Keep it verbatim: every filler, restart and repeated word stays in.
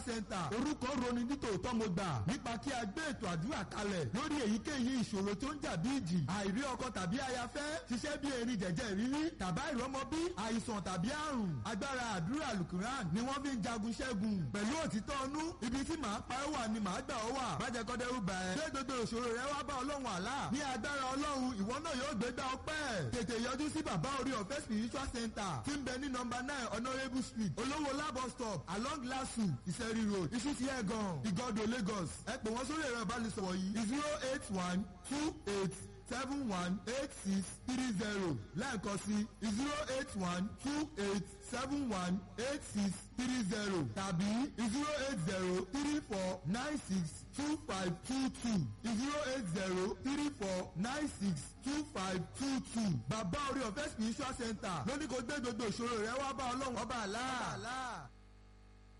Center. Orúkọ roni nítòótọ́ mo gbà nípa kí a gbé ètò àdúrà kalẹ̀ lórí èyíkéyìí ìṣòro tó ń jà bí ìjì, àìrí ọkọ tàbí ayafẹ́, ṣiṣẹ́ bí erin jẹ̀jẹ̀ rírí, tàbá ìrọ́mọbí, àìsàn tàbí àrùn. Agbára àdúrà Alukuran ni wọ́n fi ń jagun ṣẹ́gun. Pẹ̀lú òtítọ́ ọnú, ibi tí màá pa ẹ́ wà ni màá gbà ọ́ wà. Bájẹ́ kọ́dẹ́rú bá ẹ. Gbé gbogbo ìṣòro rẹ wá bá Ọlọ́run àlá. Ní agbára Ọlọ́run, ìwọ náà yóò gbégbá ọpẹ́. Tètè yọjú sí Bàbá Orí Ọ̀fẹ́ Spiritual Center tí ń bẹ ní nọ́mbà nine Honourable Street, Olówó Labo Stop, along Lasu, Ìṣẹ́rí Road, Ìṣúsí Ẹ̀gàn, Ìgọ́dọ̀, Lagos. Ẹ pè wọ́n sórí ẹ̀rọ ìbánisọ̀rọ̀ yìí: zero eight one two eight seven one eight six three zero. Lẹ́ẹ̀kan sí, zero eight one two eight seven one eight six three zero tàbí zero eight zero three four nine six two five two two, zero eight zero three four nine six two five two two. Bàbá Orí Ọ̀fẹ́ Spiritual Center lóní kò gbé gbogbo ìṣòro rẹ wá bá Ọlọ́run ọba àlá.